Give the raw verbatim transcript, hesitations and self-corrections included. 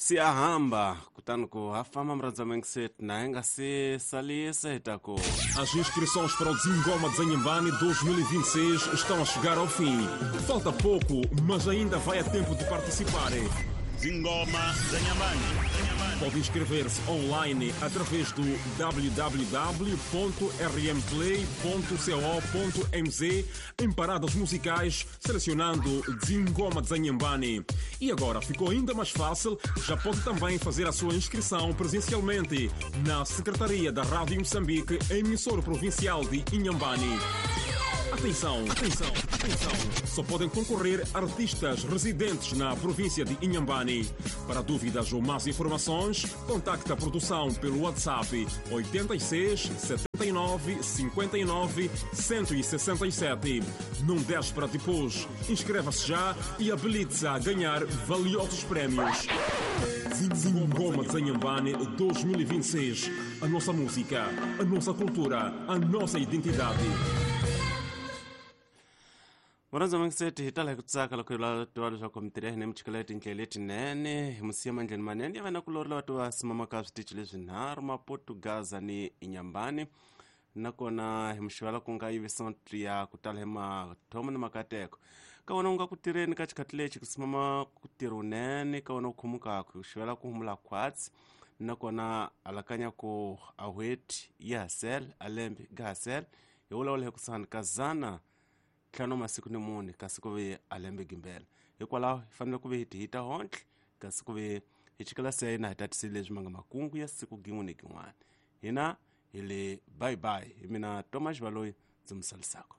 Siyahamba kutani ku ha famba murhandza Mengset na hi nga se salisa hi ta ku As inscrições para o Zingoma de Inhambane dois mil e vinte e seis estão a chegar ao fim. Falta pouco, mas ainda vai a tempo de participar. Zingoma de Inhambane. Pode inscrever-se online através do w w w ponto r m play ponto co ponto m z em paradas musicais, selecionando Zingoma de Inhambane. E agora ficou ainda mais fácil, já pode também fazer a sua inscrição presencialmente na Secretaria da Rádio Moçambique, emissora provincial de Inhambane. Atenção, atenção, atenção! Só podem concorrer artistas residentes na província de Inhambane. Para dúvidas ou mais informações, contacte a produção pelo WhatsApp oitenta e seis, setenta e nove, cinquenta e nove, cento e sessenta e sete. Não deixe para depois. Inscreva-se já e habilite-se a ganhar valiosos prémios. Zingoma de Inhambane dois mil e vinte e seis. A nossa música, a nossa cultura, a nossa identidade. Murhandza Mengset hi tala hi ku tsaka loko hi lava tiva leswaku mitirho ya hina mi chikela tindlela letinene hi musiya mandleni manene ya vana kulori lava tiva simamaka switichi leswinharhu Maputo, Gaza ni Inhambane nakona hi muxivela ku nga yivisa ya ku tala hi mathomo ni makateko ka wona u nga ku tirheni ka xikhathi lexi ku simama ku tirha unene ka wona u khomukaka ku xivela ku humula khwatsi nakona alakanya ku aweti ya hasel alembe ga hasel hi vulavula hi kusani ka zana ntlhanu masiku ni mune kasi ku ve alembe gimbela hikwalaho hi fanele ku ve hi tihita hontle kasi ku ve hi chikela se na hi tatisile leswi ma nga makungu ya siku gin'we ni gin'wana hina hi le bye bye hi mina Thomas Baloyi ndzi mi salisaka.